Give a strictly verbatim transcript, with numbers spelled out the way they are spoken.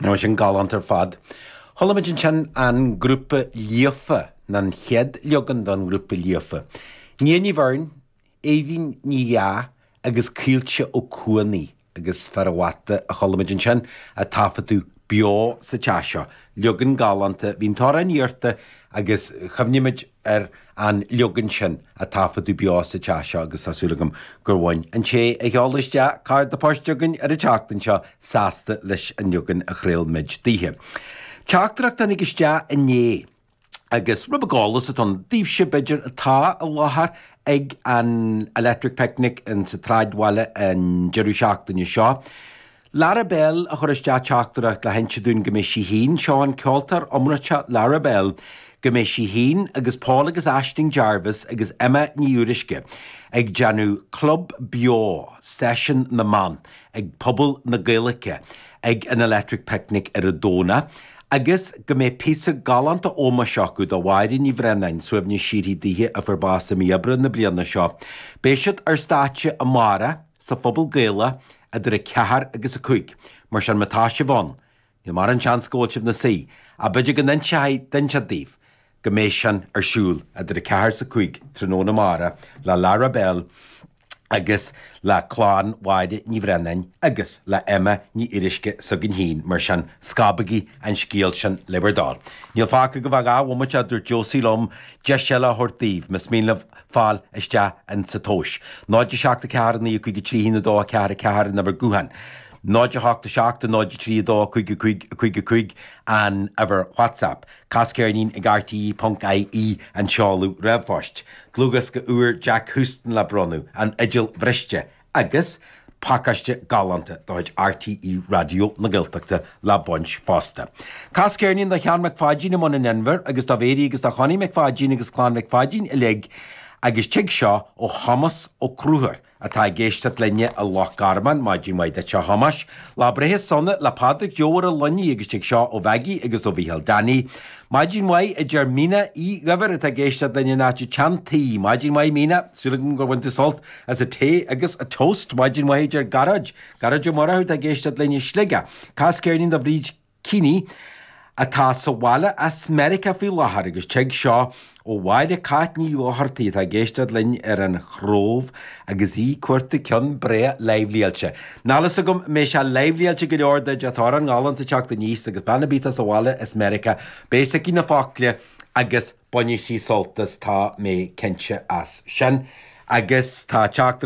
Nó sin galánta ar fad. Chuala muid ansin an grúpa Líofa, nó an chéad leagan den ghrúpa Líofa. Nia Ní Bheirn, Aoibhín Ní Dheá agus Caoilte Ó Cuanaigh agus Fear an Bhata a chuala muid ansin a taifeadadh beo sa teach seo. Leagan galánta, bhí an t-amhrán iarrta agus chuimhnigh muid ar an leagan sin a taifeadadh beo sa teach seo agus tá súil agam gur bhain an té a sheol isteach cárta poist chugainn ar an tseachtain seo sásta leis an leagan a chraol muid daoithe. Teachtaireacht a tháinig isteach inné agus rud beag eolais atá ann daoibhse b'fhéidir atá i láthair ag an Electric Picnic in sa tsráidbhaile an deireadh seachtaine seo. Lara Bell a chuir isteach teachtaireacht le hinse dúinn go mbeidh sí féin, seo an ceoltóir iomráiteach Lara Bell, go mbeidh sí féin agus Paul agus Aisling Jarvis agus Emma Ní Fhuaruisce ag déanamh Club Beo, Seisiún na mBan ag Puball na Gaeilge ag an Electric Picnic ar an Domhnach. Agus go mbeidh píosa galánta ómóis acu do Mháire Ní Bhraonáin, suaimhneas síoraí daoithe a fuair bás i mí Aibreán na bliana seo. Beidh siad ar stáitse amárach sa Phuball Gaelach idir a ceathair agus a cúig. Mar sin má tá sibh ann, níl mórán seans go bhfuil sibh 'na suí, ach b'fhéidir go n-inseoidh duine inteacht daoibh go mbeidh sin ar siúl idir a ceathair is a cúig tráthnóna amárach le Lara Bell agus le clann Mháire Ní Bhraonáin agus le Emma Ní Fhuaruisce s'againn féin, mar sin scabaigí an scéal sin le bhur dtoil. Níl fágtha go bheadh dhá bhomaite, a dúirt Josie liom, deis eile a thabhairt daoibh, más mian libh fáil isteach in sa tomhas. náid a seacht a ceathair a naoi a cúig a trí haon a dó a ceathair a ceathair an uimhir gutháin. náid a hocht a seacht a náid a trí a dó a cúig a cúig a cúig a cúig an uimhir WhatsApp. Cas ceirnín ag R T E ponc I E an seoladh ríomhphoist. Dlúthdhiosca úr Jack Houston le bronnadh, An Fhidil Bhriste, agus pacáiste galánta de chuid R T E Raidió na Gaeltachta le baint fosta. Cas ceirnín do Sheán Mac Pháidín i mBun an Inbhir agus do Mhéirí agus do Chonnie Mac Pháidín agus Clann Mhic Pháidín uilig agus tig seo ó Thomas Ó Cruthúir atá ag éisteacht linne i Loch Garman, maidin mhaith duit a Thomáis. Lá breithe sona le Pádraig Joe ar an Luinnigh agus tig seo ó Mhaggie agus ó Mhícheál Danny. Maidin mhaith a deir Mína Uí Dhuibhir atá ag éisteacht linne in áit an tSeantaí. Maidin mhaith Mína, súil agam gur bhain tú sult as an tae agus an toast. Maidin mhaith a deir Gearóid. Gearóid Ó Murchú atá ag éisteacht linne i Sligeach. Cas ceirnín do Bhríd Keeney atá sa bhaile as Meiriceá faoi láthair agus tig seo ó Mháire Cáit Ní Dhochartaigh atá ag éisteacht linn ar an Chrobh agus í ag cuartú ceann breá leimhlíáilte. Níl a fhios agam an mbeidh sé leimhlíáilte go leor duit atá ar an ngalán sa teacht aníos agus bean ar bith atá sa bhaile as Meiriceá, beidh a fhios aici na focla agus bainfidh sí sult as, tá mé cinnte as sin. Agus tá teachtaireacht